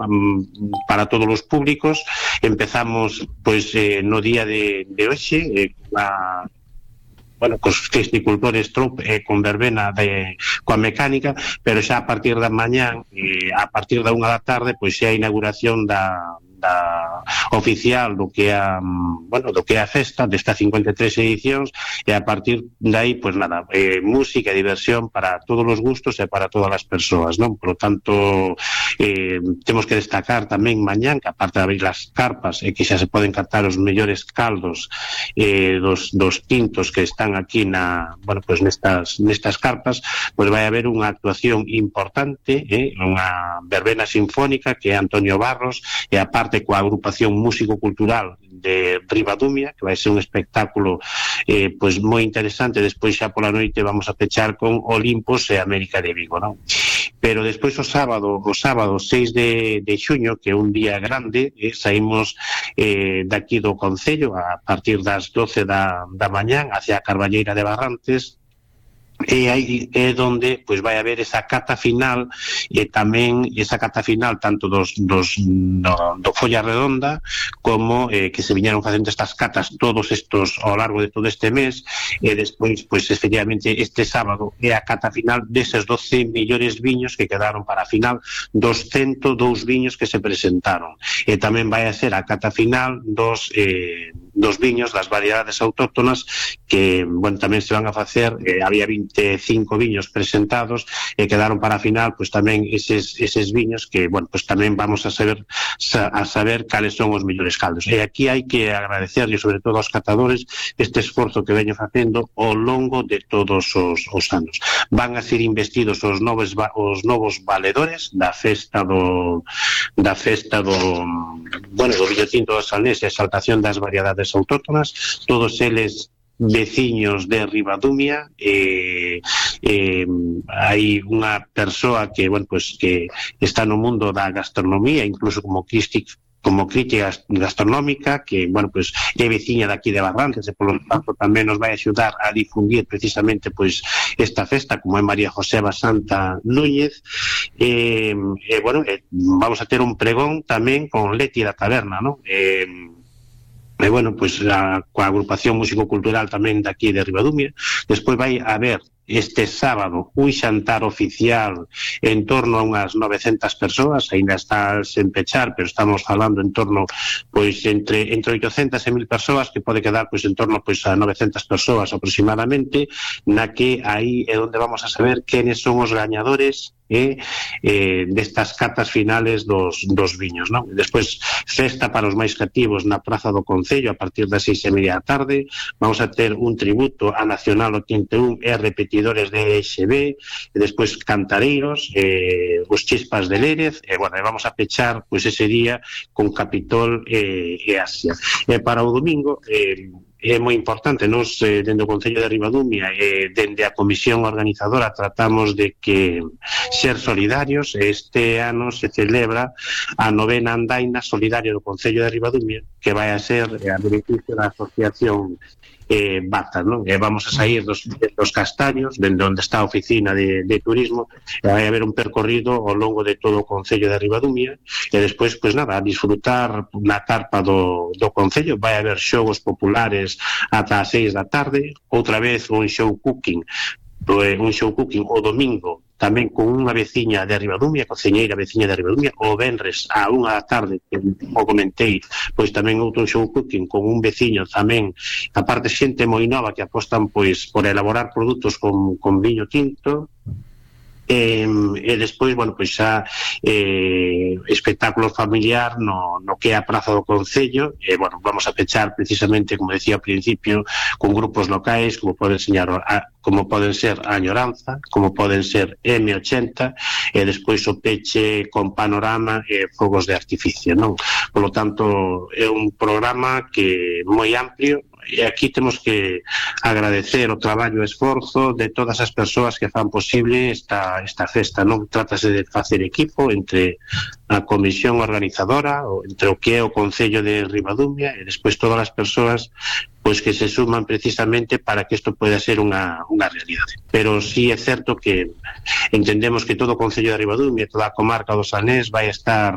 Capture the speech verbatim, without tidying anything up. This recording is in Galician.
um, para todos os públicos. Empezamos pois eh, no día de, de hoxe eh, a bueno, cos festicultores trup e eh, con verbena de, coa mecánica, pero xa a partir da mañán e eh, a partir da unha da tarde pois xa a inauguración da, da oficial do que é a, bueno, do que é a festa desta cincuenta e tres edicións, e a partir de aí, pois nada, eh, música e diversión para todos os gustos e para todas as persoas, non? Por lo tanto, eh, temos que destacar tamén mañán que aparte de abrir as carpas e que xa se poden captar os mellores caldos eh, dos, dos tintos que están aquí na, bueno, pues nestas, nestas carpas, pois vai haber unha actuación importante, eh, unha verbena sinfónica que é Antonio Barros, e aparte coa agrupación músico-cultural de Ribadumia, que vai ser un espectáculo eh, pois moi interesante. Despois xa pola noite vamos a pechar con Olimpos e América de Vigo, non? Pero despois o sábado, o sábado seis de, de xuño, que é un día grande, eh, saímos eh, daqui do Concello a partir das doce da, da mañán hacia a Carballeira de Barrantes, e aí é onde pois vai haber esa cata final, e tamén esa cata final tanto dos, dos no, do Folla Redonda como eh, que se viñeron facendo estas catas todos estos ao largo de todo este mes, e despois pois efectivamente este sábado é a cata final deses doce millores viños que quedaron para a final, dos ciento dous viños que se presentaron, e tamén vai a ser a cata final dos eh, dos viños das variedades autóctonas que, bueno, tamén se van a facer, eh, había vinte e cinco viños presentados e quedaron para a final, pois tamén eses, eses viños que, bueno, pois tamén vamos a saber a saber cales son os mellores caldos. E aquí hai que agradecerle sobre todo aos catadores este esforzo que veño facendo ao longo de todos os, os anos. Van a ser investidos os novos os novos valedores da festa do da festa do bueno, do viño tinto do Salnés e a exaltación das variedades autóctonas, todos eles veciños de Ribadumia. eh, eh, hai unha persoa que, bueno, pues, que está no mundo da gastronomía, incluso como crítica como crítica gastronómica, que, bueno, pues é veciña daqui de Barrantes, e polo tanto tamén nos vai axudar a difundir precisamente pois esta festa, como é María José Basanta Núñez. E, eh, bueno, eh, vamos a ter un pregón tamén con Leti da Taberna, non? Eh, e, bueno, pois a, coa agrupación músico-cultural tamén daqui de Ribadumia. Despois vai haber este sábado un xantar oficial en torno a unhas novecentas persoas, ainda está sen pechar, pero estamos falando en torno pois entre entre oitocentas e mil persoas, que pode quedar pois en torno pois a novecentas persoas aproximadamente, na que aí é onde vamos a saber quenes son os gañadores e eh, destas catas finales dos, dos viños, non? Despois festa para os máis cativos na Praza do Concello a partir das seis e media da tarde. Vamos a ter un tributo a Nacional oitenta e un e repetidores de E X B, e despois cantareiros, eh, os Chispas de Lérez, e bueno, vamos a pechar pois ese día con Capitol e, e Asia. E para o domingo eh, é moi importante, nos eh, dende o Concello de Ribadumia e eh, dende a comisión organizadora tratamos de que ser solidarios. Este ano se celebra a novena andaina solidaria do Concello de Ribadumia, que vai a ser eh, a beneficio da asociación eh, Bata, non? E vamos a sair dos, dos Castaños, dende onde está a oficina de, de turismo, e vai haber un percorrido ao longo de todo o Concello de Ribadumia, e despois, pois nada, a disfrutar na carpa do, do Concello. Vai haber xogos populares ata as seis da tarde, outra vez un show cooking, un show cooking o domingo, tamén con unha veciña de Ribadumia, cociñeira veciña de Ribadumia, o venres a unha da tarde, que como comentei, pois tamén outro show cooking con un veciño tamén, aparte xente moi nova que apostan pois por elaborar produtos con, con viño tinto. E, e despois, bueno, pois xa eh, espectáculo familiar no, no que é a Praza do Concello. E, bueno, vamos a pechar precisamente, como decía ao principio, con grupos locais como poden señar a, como poden ser a Añoranza, como poden ser eme ochenta, e despois o peche con panorama e fogos de artificio, non? Por lo tanto, é un programa que moi amplio, e aquí temos que agradecer o traballo e esforzo de todas as persoas que fan posible esta, esta festa, non? Trátase de facer equipo entre a comisión organizadora, ou entre o que é o Concello de Ribadumia, e despois todas as persoas pois que se suman precisamente para que isto pueda ser unha, unha realidade. Pero sí é certo que entendemos que todo o Concello de Ribadumia e toda a comarca do Salnés vai estar